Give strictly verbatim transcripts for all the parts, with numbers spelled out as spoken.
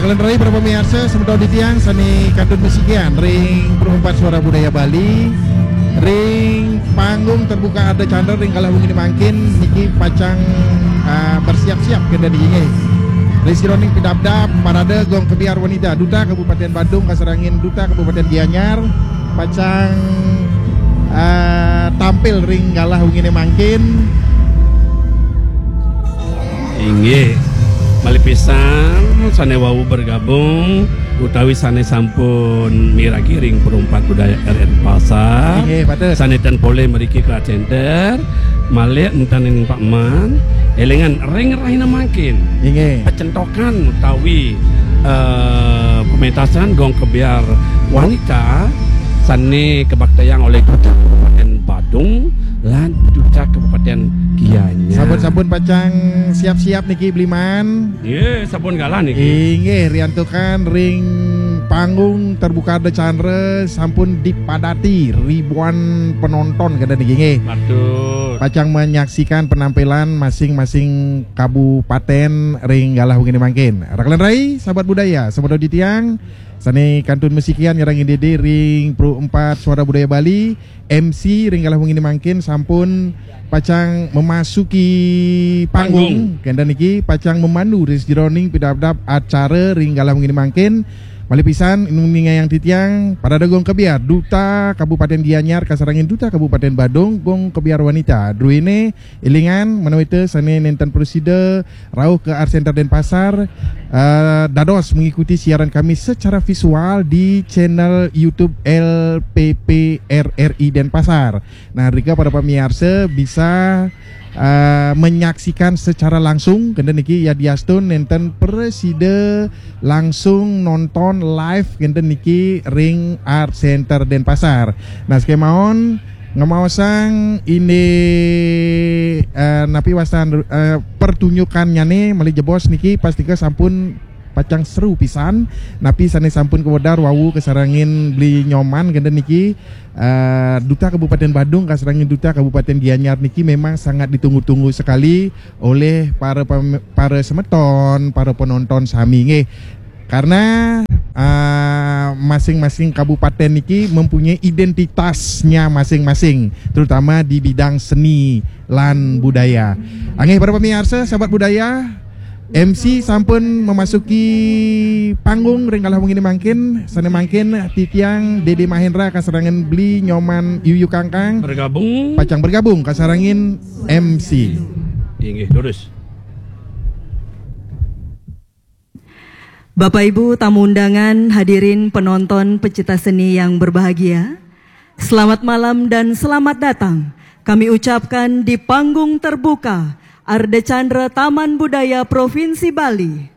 Kalian rai para pemirsa, semeton titiang sane kantun masikian ring Perempat Suara Budaya Bali, ring panggung terbuka Arda Candra ring galah wengi mangkin niki pacang uh, bersiap-siap kenten niki nggih. Ring sajeroning pidabdab Parade Gong Kebyar Wanita, Duta Kabupaten Badung kasarengin Duta Kabupaten Gianyar pacang uh, tampil ring galah wengi mangkin. Inggih, malih pisan sane wau bergabung utawi sane sampun miragi ring Perempat Budaya R N Pasar. Inggih, patut. Sane ten polih mriki ke center, malih enten ning Pak Man, elingan ring rahina mangkin. Inggih. Pecentokan utawi eh, pementasan gong kebyar wanita sane kabaktayang oleh Duta Kabupaten Badung lan Duta Kabupaten Gianyar. Sampun-sampun pacang siap-siap niki Bliman. Ye, sampun galah niki. Inggih, riantukan ring panggung terbuka Arda Candra sampun dipadati ribuan penonton kenten niki nggih. Patut. Pacang menyaksikan penampilan masing-masing kabupaten ring galah wengi mangkin. Raka lan rai, sahabat budaya, sahabat titiang, sane kantun masikian nyarengin dede ring Perempat Suara Budaya Bali, M C ring galah wengi mangkin sampun pacang memasuki panggung. Kenten niki pacang memandu ring sajeroning pidabdab acara ring galah wengi mangkin. Malih pisan ningayang titiang Parade Gong Kebyar, Duta Kabupaten Gianyar kasarengin Duta Kabupaten Badung, Gong Kebyar Wanita. Druene elingan, manawita sane nenten prasida rauh ke Art Center Denpasar, eh, dados mengikuti siaran kami secara visual di channel YouTube L P P R R I Denpasar. Nah, rika para pemirsa bisa eh, menyaksikan secara langsung kenten niki yadiastun nenten prasida langsung nonton live kenten niki ring Art Center Denpasar. Nah, sekemaon ngemaosang ini eh, napi wastan eh, pertunjukannyane malih jebos niki pastika sampun pacang seru pisan. Napi sane sampun kawedar wau kasarengin Beli Nyoman kenten niki eh, Duta Kabupaten Badung kasarengin Duta Kabupaten Gianyar niki memang sangat ditunggu-tunggu sekali oleh para pem- para semeton, para penonton sami nggih. Karena eh, masing-masing kabupaten niki mempunyai identitasnya masing-masing, terutama di bidang seni lan budaya. Nggih para pemirsa, sahabat budaya, M C sampun memasuki panggung ring galah wengi mangkin, sane mangkin titiang Dede Mahendra kasarengin Beli Nyoman Yuyu Kangkang Bergabung. Pacang bergabung kasarengin M C. Inggih, terus. Bapak Ibu tamu undangan, hadirin penonton pecinta seni yang berbahagia, selamat malam dan selamat datang kami ucapkan di panggung terbuka Arda Candra Taman Budaya Provinsi Bali.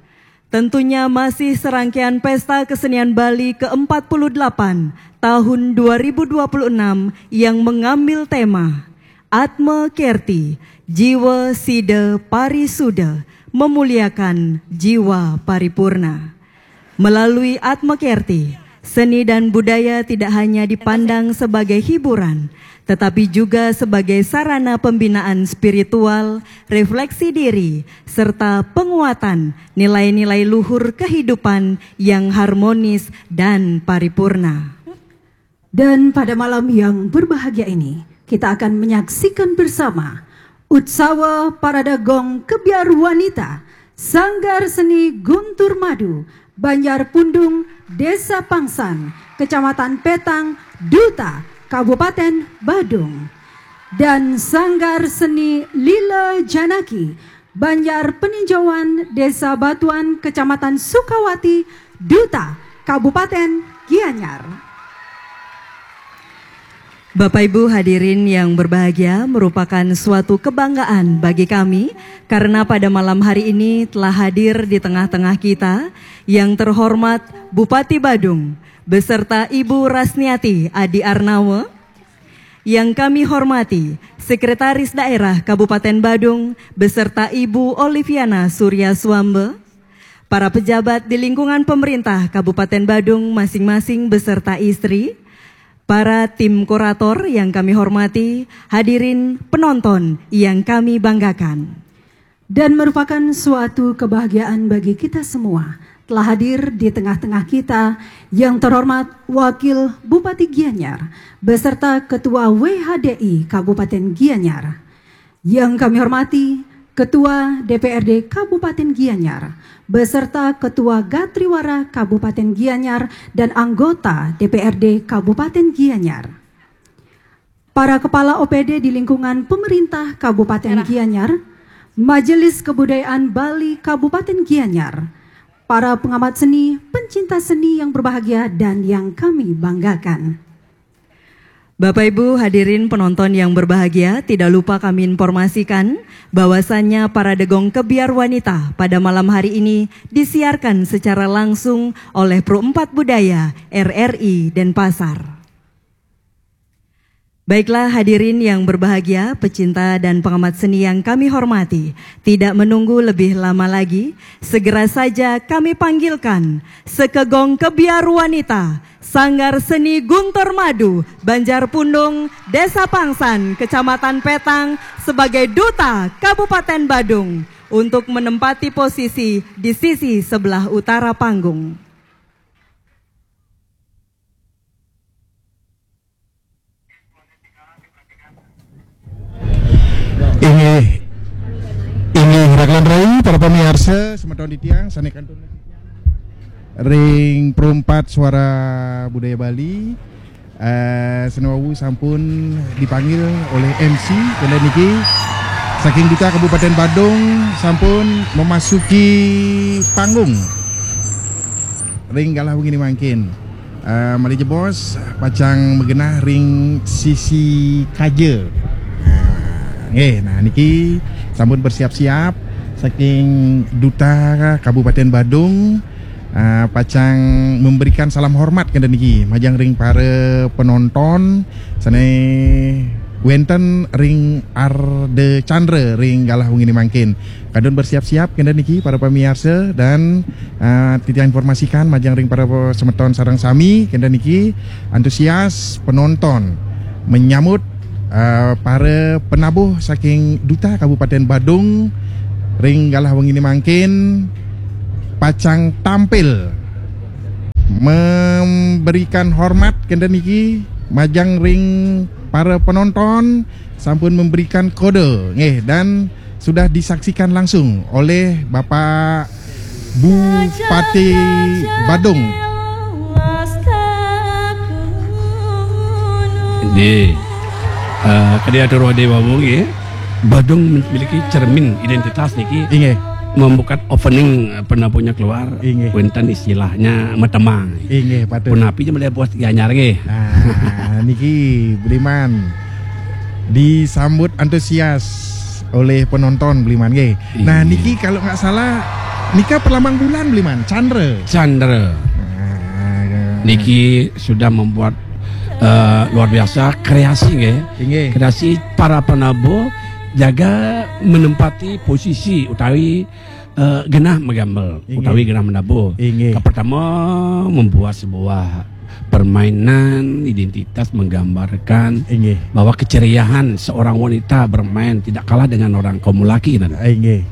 Tentunya masih serangkaian Pesta Kesenian Bali ke empat puluh delapan tahun dua ribu dua puluh enam yang mengambil tema Atma Kerti, Jiwa Sida Parisuda, memuliakan jiwa paripurna. Melalui Atma Kerti, seni dan budaya tidak hanya dipandang sebagai hiburan, tetapi juga sebagai sarana pembinaan spiritual, refleksi diri, serta penguatan nilai-nilai luhur kehidupan yang harmonis dan paripurna. Dan pada malam yang berbahagia ini, kita akan menyaksikan bersama Utsawa Parade Gong Kebyar Wanita Sanggar Seni Guntur Madu, Banjar Pundung, Desa Pangsan, Kecamatan Petang, Duta, Kabupaten Badung, dan Sanggar Seni Lila Janaki, Banjar Peninjauan, Desa Batuan, Kecamatan Sukawati, Duta, Kabupaten Gianyar. Bapak Ibu hadirin yang berbahagia, merupakan suatu kebanggaan bagi kami karena pada malam hari ini telah hadir di tengah-tengah kita yang terhormat Bupati Badung beserta Ibu Rasniati Adi Arnawa, yang kami hormati Sekretaris Daerah Kabupaten Badung beserta Ibu Oliviana Surya Swamba, para pejabat di lingkungan pemerintah Kabupaten Badung masing-masing beserta istri, para tim kurator yang kami hormati, hadirin penonton yang kami banggakan. Dan merupakan suatu kebahagiaan bagi kita semua Telah hadir di tengah-tengah kita yang terhormat Wakil Bupati Gianyar beserta Ketua W H D I Kabupaten Gianyar. Yang kami hormati Ketua D P R D Kabupaten Gianyar beserta Ketua Gatriwara Kabupaten Gianyar dan anggota D P R D Kabupaten Gianyar. Para kepala O P D di lingkungan pemerintah Kabupaten Gianyar, Majelis Kebudayaan Bali Kabupaten Gianyar, para pengamat seni, pencinta seni yang berbahagia dan yang kami banggakan. Bapak Ibu hadirin penonton yang berbahagia, tidak lupa kami informasikan bahwasannya Parade Gong Kebyar Wanita pada malam hari ini disiarkan secara langsung oleh Pro empat Budaya R R I Denpasar. Baiklah hadirin yang berbahagia, pecinta dan pengamat seni yang kami hormati, tidak menunggu lebih lama lagi, segera saja kami panggilkan Sekegong Kebyar Wanita, Sanggar Seni Guntur Madu, Banjar Pundung, Desa Pangsan, Kecamatan Petang, sebagai Duta Kabupaten Badung untuk menempati posisi di sisi sebelah utara panggung. Inggih, inggih, raglan rai, para pamiarsa, semeton titiang, sané kantun ring Pro empat Suara Budaya Bali, eh, sané wau sampun dipanggil oleh M C, kala niki saking Duta Kabupaten Badung sampun memasuki panggung ring galah wengi mangkin. Eh, malih jebos pacang magenah ring sisi kaja. Nah, nggih, nah niki sampun bersiap-siap saking Duta Kabupaten Badung, eh, pacang memberikan salam hormat kenten niki majeng ring para penonton sané wénten ring Arda Chandra ring galah wengi mangkin. Kantun bersiap-siap kenten niki para pamiarsa dan, eh, titiang informasikan majeng ring para semeton sareng sami kenten niki antusias penonton menyambut, eh, para penabuh saking Duta Kabupaten Badung ring galah wengi mangkin pacang tampil memberikan hormat kenten niki majeng ring para penonton sampun memberikan kode nggih dan sudah disaksikan langsung oleh Bapak Bupati Badung. Di, eh, kadi atur Wadi Wawu nggih, Badung memiliki cermin identitas niki. Inggih. Membuka opening, eh, penabuhnya keluar, inggih, wénten istilahnya metemang. Inggih, patut. Punapi ja malih buat Gianyar nggih. Nah, niki Bliman disambut antusias oleh penonton Bliman nggih. Nah, inggih, niki kalau nggak salah nika perlambang bulan Bliman, Chandra. Chandra. Nah, niki sudah membuat, eh, luar biasa kreasi nggih. Inggih. Kreasi para penabuh jaga menempati posisi utawi, eh, genah magambar, inggih, utawi genah menabuh. Inggih. Yang pertama membuat sebuah permainan identitas menggambarkan, inggih, bahwa keceriaan seorang wanita bermain tidak kalah dengan orang kaum laki, nah. Inggih.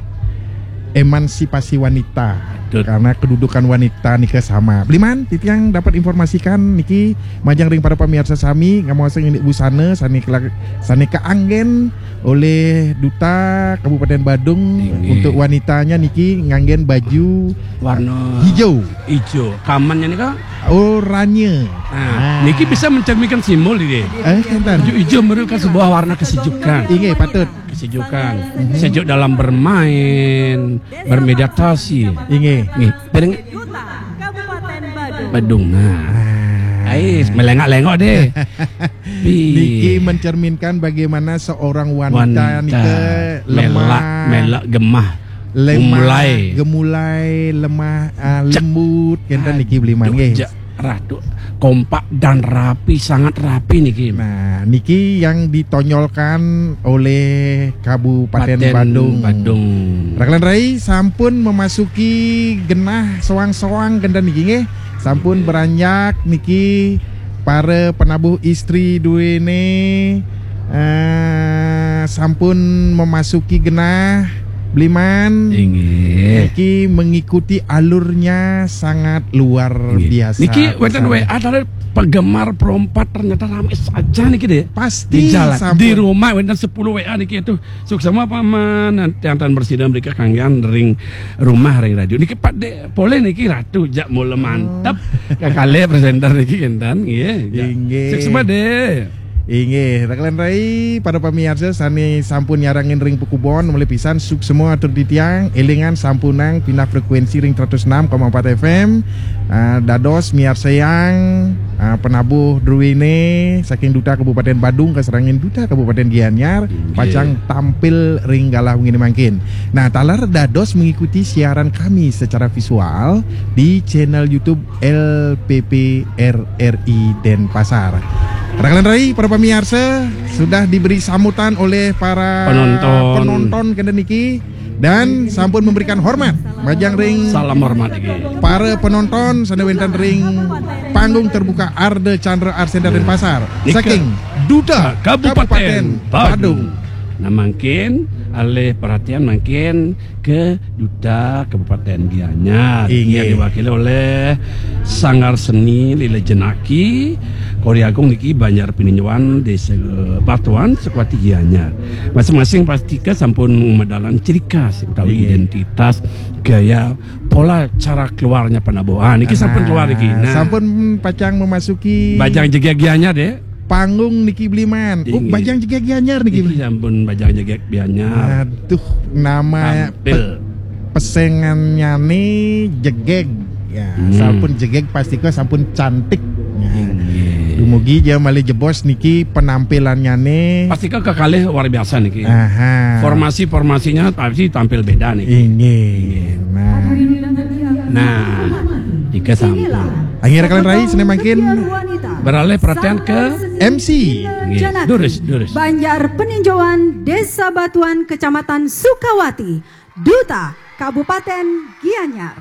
Emansipasi wanita. Betul. Karena kedudukan wanita nika sama. Bliman, titiang dapat informasikan niki majeng ring para pamiarsa sami, ngamuasang indik busana sané kela-, sané kaanggén oleh Duta Kabupaten Badung, inggih, untuk wanitanya niki nganggén baju warna hijau. Hijau. Kamannya nika oranye. Nah, ah, niki bisa mencerminkan simbol niki. Eh, kenten. Baju hijau merupakan sebuah warna kesejukan. Inggih, patut. Kesejukan. Mhm. Sejuk dalam bermain, bermeditasi. Inggih. Nggih. Bareng Badung. Nah. Ah. Ais, melengak-lengok deh. Niki mencerminkan bagaimana seorang wanita, wanita nika melak, lemah, melak gemah, lemah, gemulai, gemulai, lemah, ah, lembut, kenten niki Bliman nggih. Ratu, kompak dan rapi, sangat rapi niki. Nah, niki yang ditonjolkan oleh Kabupaten Badung. Badung. Raglan rai sampun memasuki genah soang-soang kenten niki nggih. Sampun beranjak niki para penabuh istri duene, eh, sampun memasuki genah Bliman. Inggih. Niki mengikuti alurnya sangat luar biasa. Niki wonten W A dari penggemar Pro empat, ternyata ramai saja niki, Dek. Pasti di jalan, sampun. Di rumah wonten sepuluh W A niki itu. Suksma Paman, tiang-tiang bersida mereka kanggian ring rumah ring radio. Niki Pak Dek, boleh niki Ratu jak mula mantap. Kakalih presenter niki kenten, nggih. Inggih. Suksma, Dek. Inggih, rekan rai, para pamiarsa sane sampun nyarengin ring Pakubon, malih pisan suksma atur titiang, elingan sampunang pindah frekuensi ring seratus enam koma empat F M, ah, dados miarsayang, ah, penabuh druene saking Duta Kabupaten Badung kasarengin Duta Kabupaten Gianyar, inggih, pacang tampil ring galah wengi mangkin. Nah, taler dados mengikuti siaran kami secara visual di channel YouTube L P P R R I Denpasar. Rekan rai, para pamiarsa, sudah diberi sambutan oleh para penonton, penonton kenten niki dan sampun memberikan hormat majeng ring, salam hormat niki, para penonton sane wenten ring panggung terbuka Ardha Candra Art Center Denpasar. Nika saking Duta Kabupaten Kabupaten Badung. Badung. Nah, mangkin alih perhatian mangkin ke Duta Kabupaten Gianyar. Inggih. Ia diwakili oleh Sanggar Seni Lila Jenaki, Kori Agung niki Banjar Pininjoan, Desa Batuan, Sukawati, Gianyar. Masing-masing pastika sampun medalan ciri khas utawi, inggih, identitas gaya pola cara keluarnya penabuh. Ah, niki sampun, nah, keluar niki. Nah, sampun pacang memasuki Bajang Jegeg Gianyar, Dek. Panggung niki Bliman. Oh, inggih. Bajang Jegeg Gianyar niki. Niki sampun Bajang Jegeg Gianyar. Aduh, nama tampil pe-, pesengannyane jegeg. Ya, hmm, sampun jegeg pastika sampun cantik. Ya. Inggih. Dumugi ja malih jebos niki penampilannyane. Pastika kekalih luar biasa niki. Aha. Formasi-formasinya pasti tampil beda niki. Inggih. Inggih. Nah. Nah, ika sampun. Akhir kalian rai, sene mangkin beralih perhatian ke M C. Inggih. Durus, durus. Banjar Peninjauan, Desa Batuan, Kecamatan Sukawati, Duta Kabupaten Gianyar.